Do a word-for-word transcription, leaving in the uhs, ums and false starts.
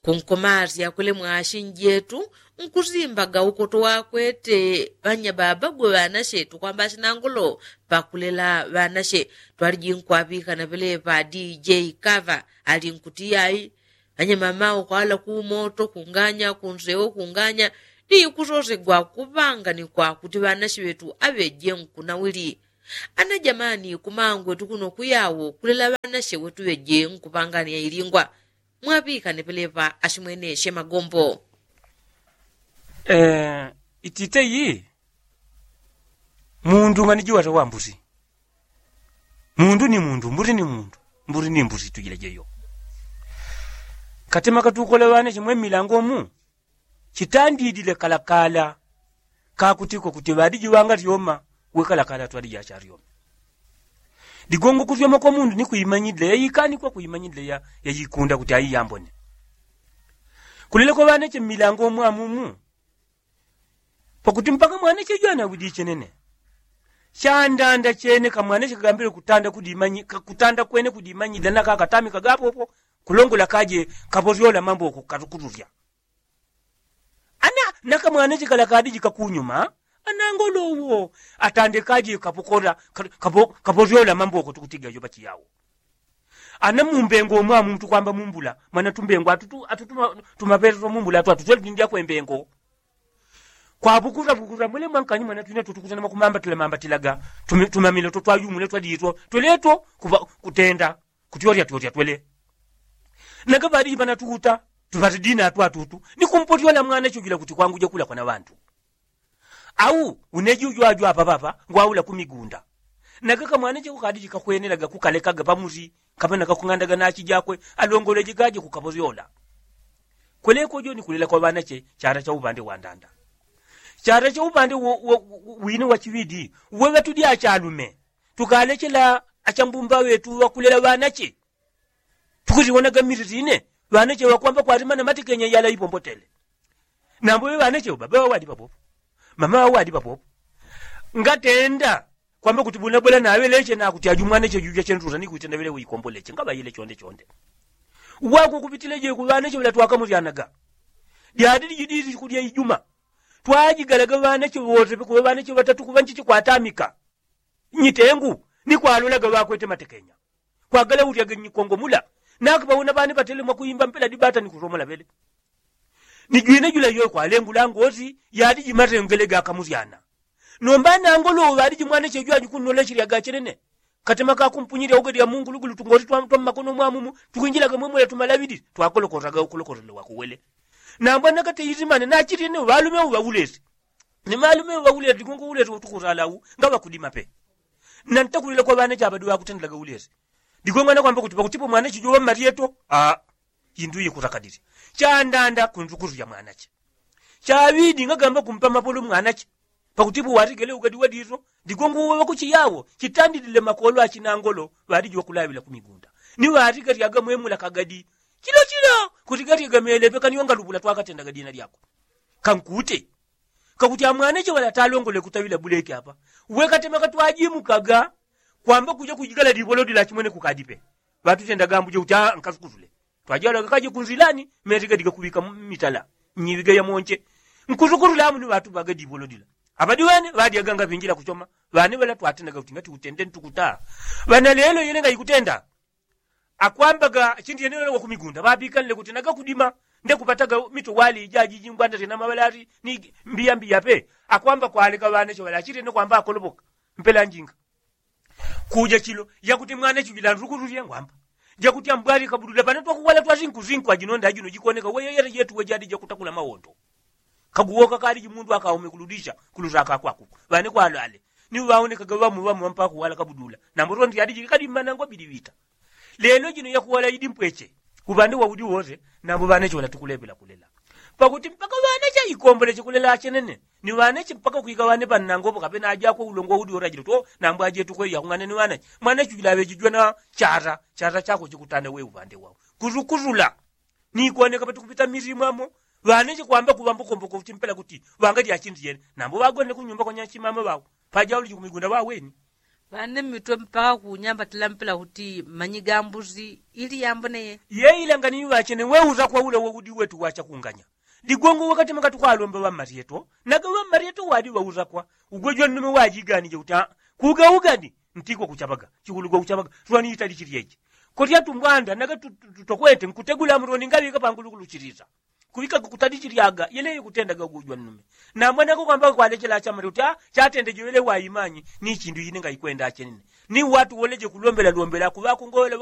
Kunkomasya kule mwashi njetu nkusimbaga ukoto wakwete ŵanyababa gwe ŵanashe tukwamba ashinangolo pakulela ŵanashe. Twaliji nkwaŵikana ŵeleŵa dj kava ali nkuti yai ŵanyamama ukwala kumoto kunganya kunsewo kunganya. Dikusosegwa kuŵanganikwa kuti ŵanashe ŵetu aŵeje nkunawili. Ana jamani kumangwe tukuno kuyawo kulela ŵanashe wetu ŵeje nkuŵangania ilingwa. Mwaŵikane peleŵa ashimweneshe magombo. Itite iyi. Mundu ngani jiwata wambusi. Mundu ni mundu mbusi ni mundu. Mbusi ni mbusi tujila jeyo. Katema katukola ŵanashe mwe mmilango mu chitandidile kalakala. Kakutiko kuti ŵaliji ŵangalyoma. Wekalakala twaliji achalyoma. Digongo kulyoma kwa mundu ni kuimanyidile yaikanikwa kuimanyidile ya yikunda kuti aiyambone. Kulile kwa ŵanache mmilango mwamumu. Pakuti mpaka mwanache jwana widi chenene. Chandanda chene kamwanache kagambile kutanda kudimanyidile na kakatami kagapopo. Kulongola kaje kaposyola mamboko katukululya. Ana nakamwanache kala kadiji kakunyuma. Anangolowo atande kaje kapokola kaposyola mamboko tukutiga yopachi yawo. Ana mumbengo mwamu tukwamba mumbula mwana tumbengo atutu atutu tumapele twa mumbula atu atutwele tundya kwembengo. Kwapukuza pukuza mwele mwankanyi mwana twina tutukuzana makumambatila mambatilaga. Tumamilo totwayumule twaditwo tweleto. Kutenda kutyorya tyorya twele. Nagapadi panatukuta tupati dina atwatutu. Ni kumpotyola mwana chujila kuti kwangu jakula kwana ŵantu. Au uneji ujwajwa apapapa ngwaula kumigunda. Nagakamwana chekukadi chikakwenelaga kukalekaga pamusi. Kapena kakung'andaga nachi jakwe alongoleji gaje kukaposyola. Kweleko jo ni kulela kwa ŵanache chara cha upande wa ndanda. Chara cha upande wine wa chiŵidi. Weŵa tudi achalume tukalechela achambumba ŵetu ŵakulela ŵanache. Tukuliwonaga miri tine ŵanache ŵakwamba kwalimana matikenya yala ipombotele. Nambo ŵe ŵanache baba ŵawadi papopo. Mama ŵawadi papopo. Ngatenda kwamba kuti bunabwela naŵeleche nakuti aju mwanache juja chentusa ni kuitenda ŵelewe ikomboleche ngaŵayile chonde chonde. Wakukupitileje ku ŵanache ŵelatwakamusyanaga. Dyadi dijididi kulya ijuma twajigalaga ŵanache ŵosepe kuŵa ŵanache ŵatatu kuŵa nchichi kwatamika. Nyitengu ni kwalolaga ŵakwete matekenya. Kwagalaulyaga nyikongo mula. Nakipauna ŵane ŵatele mwakuimba mpela dibata ni kusomola ŵele. Ni jwine jula yoyo kwalengula ngosi yadi jimatengele gakamusyana. Nomba nangolowo ŵaliji mwanache jwaji kunnolechilyaga chenene. Katema kakumpunyilya ugalya mungulugulu tungosi twa mmakono mwamumu tukwinjilaga mwemwela tumalaŵidi twakolokosaga ukolokosele wakuwele. Nambwa nakate isimane nachilye ne ŵalume uŵaulesi. Ni malume ŵaulesi digongo ulesi utukusala u ngaŵakudima pe. Nantakulila kwa ŵanache aŵadi ŵakutendilaga ulesi. Digongo anakwamba kuti pakutipo mwanache juŵa mmalyeto. Aa. Indu ikusakadisya chandanda kunzukusu ya mwanache. Chaŵidi ngagamba kumpa mapolo mwanache. Pakutipo watigele ugadi wadiso digongo uŵa ŵakuchiyawo chitandilile makolo achinangolo. Ŵaliji ŵakulaŵila kumigunda ni ŵatigalyaga mwemula kagadi. Chilo chilo kutigalyaga melepe kani wangalupula twakatendaga dina lyakwe. Kankute kakuti amwanache ŵalatalongole kutaŵila buleke apa. Wekatema katwajimukaga kwamba kuja kujigala dibolo dila chimwene kukadipe. Ŵatutendaga ambuje kuti aa nkasukusule. Twajalaga kaje kunzilani meti gadiga kuŵika mitala nyiŵiga ya monche. Nkusukusule amu ni ŵatuŵaga dibolo dila. Aŵadi ŵane ŵadyaga ngaŵinjila kuchoma. Ŵane ŵala twatendaga kuti ngati utende ntukuta. Ŵana lelo yele ngaikutenda. Akwambaga chindi yene ŵala wakumigunda ŵapikanile kuti nagakudima. Ndekupataga mito wali ijaji jingwanda syena maŵalati ni mbiya mbiya pe. Akwamba kwaleka ŵanache ŵala achitene kwamba akolopoka mpela njinga. Kuja chilo yakuti mwana chujila ntukutu syengwamba. Jakuti ambwali kabudula pane twakuwala twasinkusinku ajino nda ajino jikoneka weye yata jetu wejadi jakutakula mawondo. Kaguwoka kaliji mundu akaume kuludisha kulusaka kwaku. Ŵane kwalwale ni ŵaonekaga ŵamu ŵamu ŵampakuwala kabudula. Nambo tondi adiji kadi mmanangwa bidi ŵita. Lelo jino yakuwala idi mpweche. Uŵande waudi wose. Nambo ŵanache ŵalatukulepela kulela pakuti mpaka ŵanache aikomboleche kulela achenene. Ni ŵanache mpaka kwika ŵane pannangopo kapena ajakwe ulongo udi orajilo to. Nambo ajetukwe yakung'ane ni ŵanache mwanache ujila aŵejijwa na chata. Chata chakwe chikutane we uŵande wao. Kusukusula ni ikoneka patukupita mirimu amo. Ŵanache kwamba kuŵambokomboko kuti mpela kuti ŵangadya achindi yene. Nambo ŵagone kunyumba kwanyachimama ŵao pajauliji kumigunda ŵaweni. Pane mitwe mpaka kunyamba tilampila kuti manyi gambuzi ili yamboneye. Yeilanga ni ŵachene weuza kwa ule woudi wetu wachakunganya. Ligongo wakati makati kwalomba ŵammaryeto naga ŵammaryeto wadi ŵauzakwa. Ugwe jwannume wajiganije uta kuga ugani ntigwa kuchabaga chikulu gwa kuchabaga. Twaniita lichilyeje koti atumbwanda naga tutokwete nkutegula muroni ngaŵika pangulukuluchiliza. Kuŵika kutalichilyaga yeleyo kutendaga ugwe jwannume. Namwanako kwamba kwalechela chamare uta chatende jowele waimanyi ni chindu ine ngaikwenda achenene. Ni watu woleje kulombela lombela kuŵakungolela.